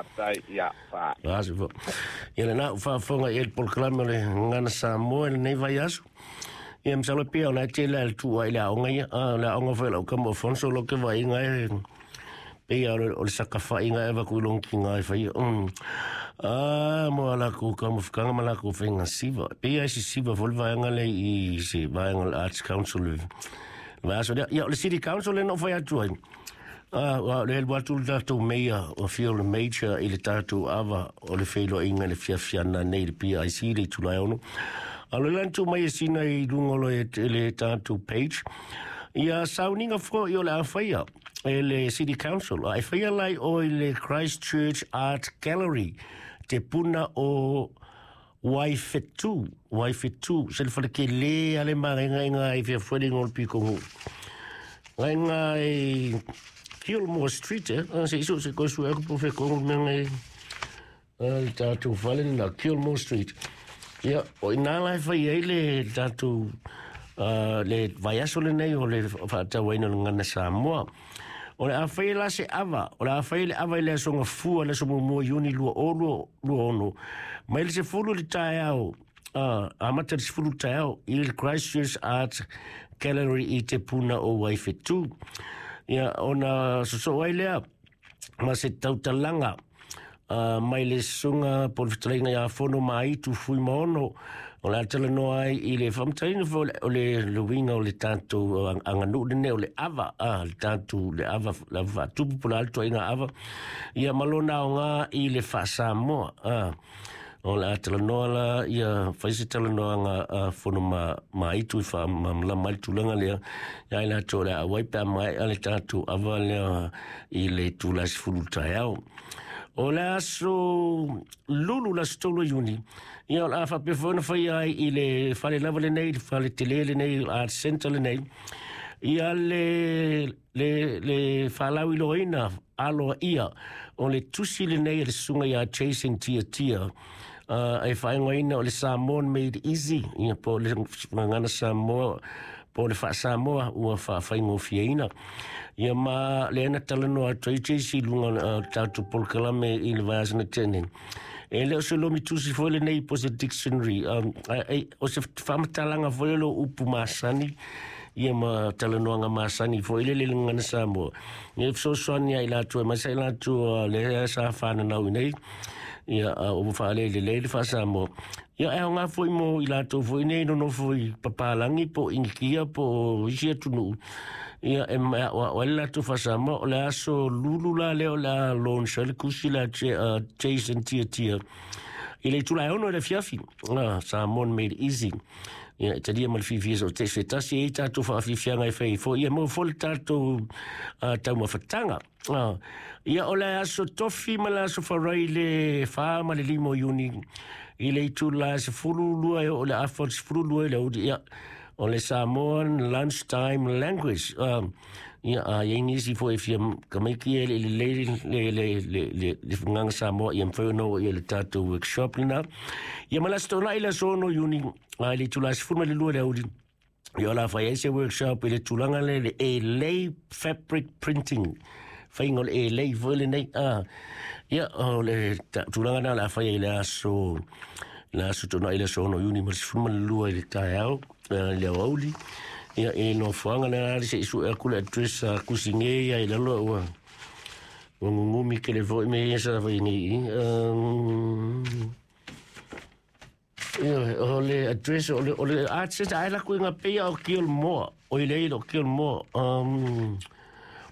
Faafetai, ia, faa. Aso fo. Ia lena ua faafofoga i ai le polokalame o le Gagana Samoa i lenei vaiaso. Ia masalo pea o la e tele lava le tuu ai i le aoga ia. Ah, o le aoga foi a lau tama o Afonso lo ke vaaiga e pei lava o le sakafaiga e avatu i lona tina e faia. Ah, mo a latou taumafataga ma latou faiga siva. Pei lava e sisiva foi le vaega lea i se vaega o le Arts Council i le vaiaso lea. Ia, o le City Council lea na ou fai atu ai. Ah, aua o le alu atu le tatou Mayor o Fiona Major i le tatou ava o le feiloaiga i le fiafiana nei i le PIC i le itula e 6. A o le la na tuu mai e sina i luga o le, le tatou page, ia sauniga foi o le a faia e le City Council. A e faia la i o i le Christchurch Art Gallery, te puna o Waiwhetū, Waiwhetū, se le fale tele a le māgaiga i fea foi le ingoa o le pitonuu. Gaiga i Kilmore Street, eh? Ah, se iso se koe sue aku po fe kongu mea ngai le tātou fale na Kilmore Street. Ia, o ina la e fai ai le tātou le vaiaso lenei o le faatauaina o le Gagana Samoa. O le a fai la se ava, o le a fai le ava i le aso Gafua, le aso muamua Iuni 2026, mai le 10 i le taeao, amata i le 10 i le taeao i le Christchurch Art Gallery i Te Puna o Waiwhetū. Ia, ona sosoo ai lea ma se tautalaga mai le susuga po o le fetalaiga ia Fono Maaitu Fuimaono, o le a talanoa ai i le faamatalaina foi o le uiga o le tatou aganuu lenei o le ava, le tatou le ava, le ava faatupu po o le a le ituaiga ava, ia ma lona aoga i le faa-Samoa. O le a talanoa la ia fai se talanoaga a Fono Maaitu e faamalamalama ai le tulaga lea ia i latou o le a auai pe a maea le tatou ava lea i le itula e 10 i le taeao. O le aso Lulu le aso 3 o Iuni, ia o le a faapea foi ona faia ai i le fale lava lenei, le fale tele lenei, Art Centre lenei, ia le faalauiloaina aloaia o le tusi lenei a le susuga ia Jason Tiatia, e faaigoaina o le Samoan Made Easy, ia po o le Gagana Samoa, po o le Faa-Samoa ua faafaigofieina. Ia ma lea na talanoa atu ai JC i luga o le tatou polokalame i le vaiaso na tea nei. E le o se lomi tusi foi lenei po o se dictionary, o se faamatalaga foi o le upu masani, ia ma talanoaga masani foi lele i le Gagana Samoa. Ia e fesoasoani ia i latou aemaise i latou lea sa fananau i nei, ia ua faalelelei le Faa-Samoa. Ia e aoga foi mo i latou foi nei nonofo i Papalagi po o Inikia po o isi atunuu, ia e aoao ai le latou Faa-Samoa. O le aso Lulu la lea o le a launch ai le tusi lea a Jason Tiatia i le itula e 6 i le afiafi, Samoan Made Easy. Ia e talia ma le fiafia so te se tasi e ai tatou faafiafiaga e fai ai foi, ia maua foi le tatou taumafataga. Ia o le aso Tofi ma le aso Farai le 4 ma le 5 o Iuni i le itula e 12 e oo i le afa o le 12 i le aoauli, ia o le Samoan Lunchtime Language. Ia a i ai nisi foi e fia tamaiti e le i lelei le gagana Samoa, ia mafai ona oo i ai le tatou workshop lena. Ia ma le aso Toonai le aso 6 o Iuni i le itula e 12 i le aoauli, Ia o le a fai ai se workshop i le tulaga lea le elei fabric printing. Faiga o le elei foi lenei. Ia o le tulaga lena o le a fai ai i le aso le aso Toonai le aso 6 o Iuni ma le 12 i le taeao i le aoauli. Ia i le nofoaga lea se i sue atu le address a Kusine ia i lalo ua gugumi tele foi mea ia sa fai nei i. Ioe, o le address o le Art Centre, ai la kuinga peia o Kilmore, o i leilo Kilmore,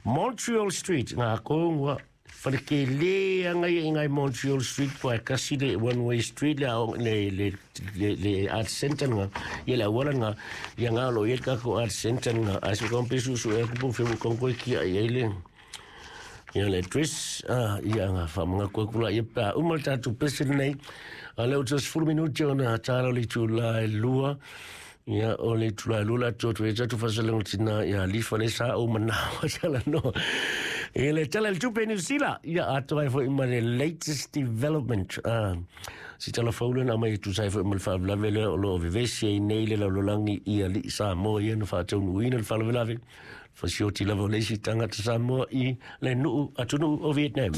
Montreal Street, ngā kongua, whare ke le anga ia i ngai Montreal Street, po ai kasi le one way street le, le, le, le, le Art Centre nga, ia le awala nga, ia ngā lo ia le kako Art Centre nga, ai se kompe susu e kupu whiu kongkoi kia i ai le, Ia le address, ia nga whamangaku aku la ia pā uma le tātou pese nei. A leo te 10 minuti o na tāra o le itula e lua. Ia o le itula e lua la atu atu e tātou whasalengo tina ia lifa le sa o manawa tala no. E le tala le tupe New Zealand. Ia atu ai foi ma le latest development. Si tala faula na mai tu sai foi ma le whaawelave le o lo o vevesi ai nei le lalolagi i alii Samoa ia na whaataunuuina le faalavelave. Fasioti lava o le isi tagata Samoa i le nuu atunuu o Vietnam.